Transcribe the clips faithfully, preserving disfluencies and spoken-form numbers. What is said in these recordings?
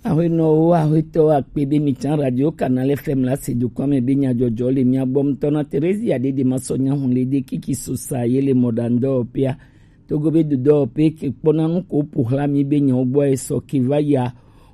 Ahuenɔwo, ahuetɔwo akpe be mi tsã Radio Canal F M la se dokɔa me be nyadzɔdzɔ le mia gbɔ ŋutɔ na Theresia Dede Masɔ Nyahun le de kiki sosa ye le mɔɖaŋudɔwɔƒea. Togo be dodɔwɔƒe ke kpɔna nu ko ƒo xlã mi be nyawo gbɔ esɔ ke va yia.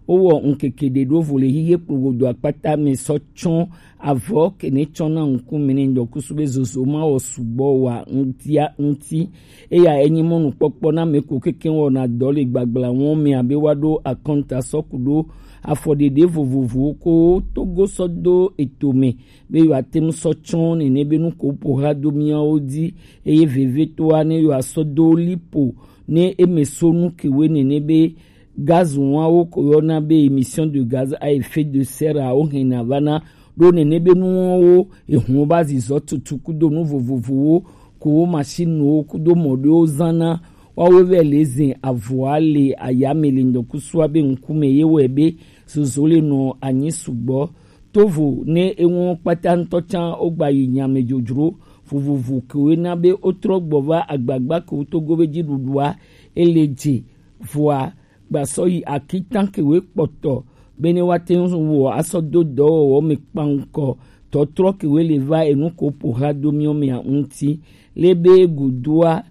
Wowɔ ŋkeke ɖe ɖo vo le hihe kplogodo akpata me sɔ tsɔ avɔ ke ne tsɔna ŋkume ne ŋdɔkusu be zozo ma wɔ sugbɔ wa ŋutia ŋuti. Eya enyi mɔnukpɔkpɔ na ame ko keke wɔna dɔ le gbagbla wɔn me abe woaɖo akɔnta sɔ ku ɖo afɔɖeɖe vovovowo ko Togo sɔ do eto me be yewoate ŋu sɔ tsɔ nene be nu ko ƒo xlã do miawo dzi, eye vevitɔa ne yewoasɔ do lipo ne eme so nu kewoe nene be gaz wɔawo ko yɔna be émission de gaz à effet de serre awo hɛna vana ɖo nene be nuwo ehun ba zizɔ tutu kudo nu vovovowo ko wo machine wo kudo mɔ ɖewo zana. Woawo vɛ le zin avɔa le ayame le ŋdɔkusua be ŋkume ye wɔe be zozo le nɔ anyi sugbɔ. Tovo ne eŋu kpata ŋutɔ tsã wogba yi nyame dzodzro vovovo kewoe na be wotrɔ gbɔ va agbagba kewo Togo be dziɖuɖua ele dze vɔa gbasɔ yi akitan kewoe kpɔtɔ bene woate ŋu wɔ asɔ do dɔwɔwɔ me kpaŋkɔ tɔtrɔ kewoe le va enu ko ƒo xlã do miɔ mea ŋuti. Le be godoa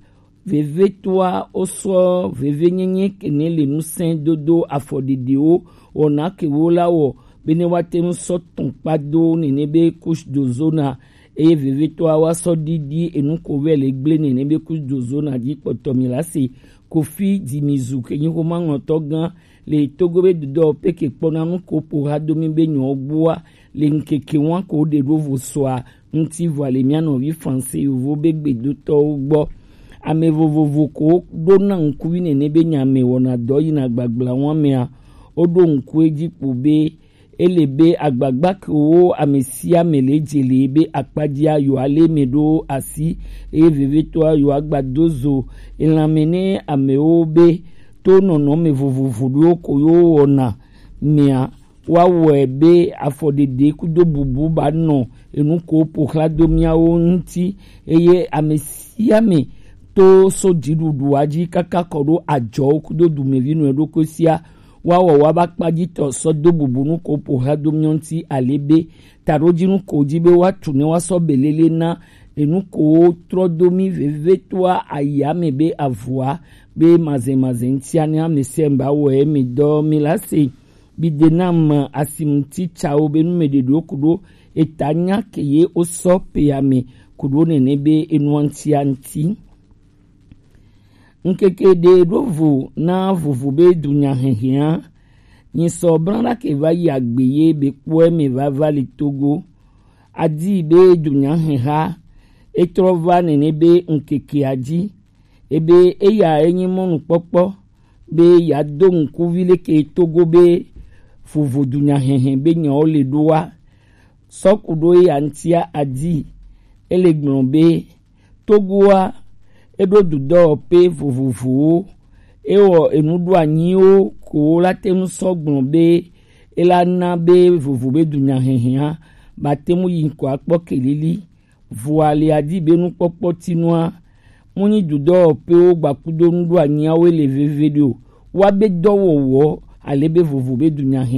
vevitɔa wosɔ vevenyenye kene le nusẽ dodo afɔɖiɖiwo wɔna kewo la wɔ bene woate ŋu sɔ tɔn kpa do nene be couche d'ozone, eye vevitɔa woasɔ ɖiɖi enu ko vɛ le gble nene be couche d'ozone dzi kpɔtɔ mi la se. Kofi Dimizu ke nyi xoma ŋlɔtɔ gã le Togo be dodɔ peke kpɔna nu ko ƒo xlã do mi be nyɔ gbɔa le ŋkeke wa ko ɖe ɖo vo sɔa ŋuti vɔ le mia nɔvi Franse yovo be gbedotɔwo gbɔ. Ame vovovo ko ɖo na ŋkuvi nene be nya me wɔna dɔ yina gbagbla wa mea, woɖo ŋku edzi kpo be ele be agbagba kewo ame sia ame le dze le be akpadzia yewoa le me ɖo asi, eye vevitɔa yewoa gba do zo elãme ne amewo be to nɔnɔme vovovo ɖewo ko yewo wɔna mea, woawɔe be afɔɖeɖe kudo bubu ba nɔ enu ko ƒo xlã do miawo ŋuti, eye ame sia ame to so dziɖuɖua dzi kaka kɔ ɖo adzɔwo kudo dumevi nɔ ɖokui sia, woawɔ woaba kpadzitɔ sɔ do bubu nu ko ƒo xlã do miawo ŋuti ale be taɖodzinu ko dzi be woatu ne woasɔ belele na enu ko trɔ do mi vevitɔa ayame be avɔa be mazɛmazɛ ŋutia ne ame sia ame ba wɔe mi dɔ mi la se. Bi de nam asimutitsawo be numeɖeɖewo ku ɖo eta nya ke ye wosɔ pea me ku ɖo nene be enua ŋutia ŋuti. Ŋkeke ɖe ɖo vo na vovo be dunya hɛhɛa. Nyi sɔ blanɖa ke va yi agbe ye be kpɔe me va va le Togo. Adi be dunya hɛha etrɔ va nene be ŋkekea dzi. Ebe eya enyi mɔnukpɔkpɔ be yeado ŋkuvi leke Togo be vovo dunya hɛhɛ be nyawo le ɖoa. Sɔ ku ɖo eya ŋutia adi, ele gblɔ be Togoa eɖo dudɔwɔƒe vovovowo, ewɔ enuɖoanyiwo ko la te ŋu sɔ gblɔ be ela na be vovo be dunya hɛhɛa ba te ŋu yi ŋkɔ akpɔ kelili. Vɔa le adi be nukpɔkpɔ tinua, mu nyi dudɔwɔƒewo gbakudo nuɖoanyiawo le veve ɖe o. Wa be dɔwɔwɔ ale be vovo be dunya hɛ